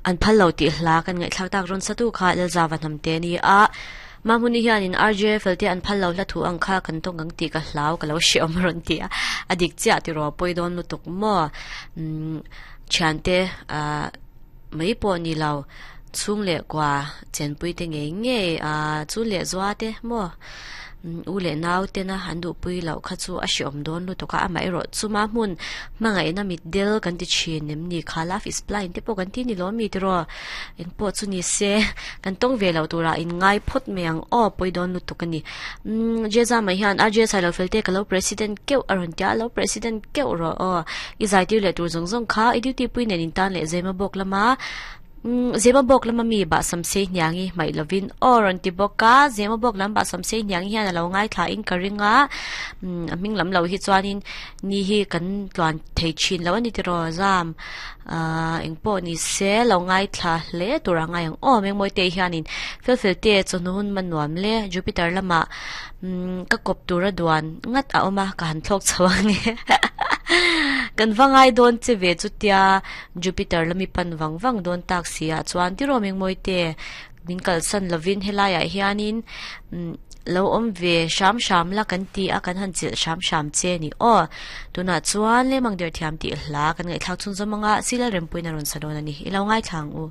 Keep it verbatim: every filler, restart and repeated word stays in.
An phal lo tih hla kan ngaihthlak tak rawn satu kha Lalzava hnamte a ni a. Mahmuni hianin R J felte an phal lo hla thu ang kha kan tawng ang tih ka hlau ka lo hre awm rawn ti a. A dik chiah ti rawh pawi dawn lutuk maw. Um thiante ah mai pawh ni lo chhung leh kwa chenpui te ngei ngei a chu leh zua te maw u leh nau te na an duh pui lo kha chu a hre awm dawn lutuk a amah erawh chuma hmun hmangaihna mit del kan ti thin em ni kha love is blind te pawh kan ti ni lo mi tiraw eng pawh chu ni se kan tawng ve lo tura in ngai phawt mai ang aw pawi dawn lutuk ani um jeza mai hian R J Sailo felte ka lo president keuh a rawn tia lo president keuh rawh aw i zai tir leh tur zawng zawng kha i duty pui nen in tan leh zema bawk lama um zema bawk lama mi ba samse hniangi mai lovin aw rawn ti bawk a zema bawk lam ba samse hniangi hian alo ngai thla in ka ringa um a hming lam lo hi chuanin ni hi kan tluan thei thin lo ani tiraw zam ah eng pawh ni se lo ngai thla hle tura ngai ang aw mengmawi te hianin fel fel te chawhnu hun man nuam le Jupiter lama um ka kawp tura duan ngat a awm a ka han thlawk chho ange kan wangai dawn che ve chutia Jupiter lami pan wang wang dawn tak si ah chuan tiraw mengmawi te min kalsan lovin helaiah hianin um lo awm ve hram hram la kan ti a kan han chilh hram hram che ni aw tunah chuan lemang der thiam tih hla kan ngaihthlak chhun zawm anga sila rempuina rawn sa dawn ani i lo ngai thlang u.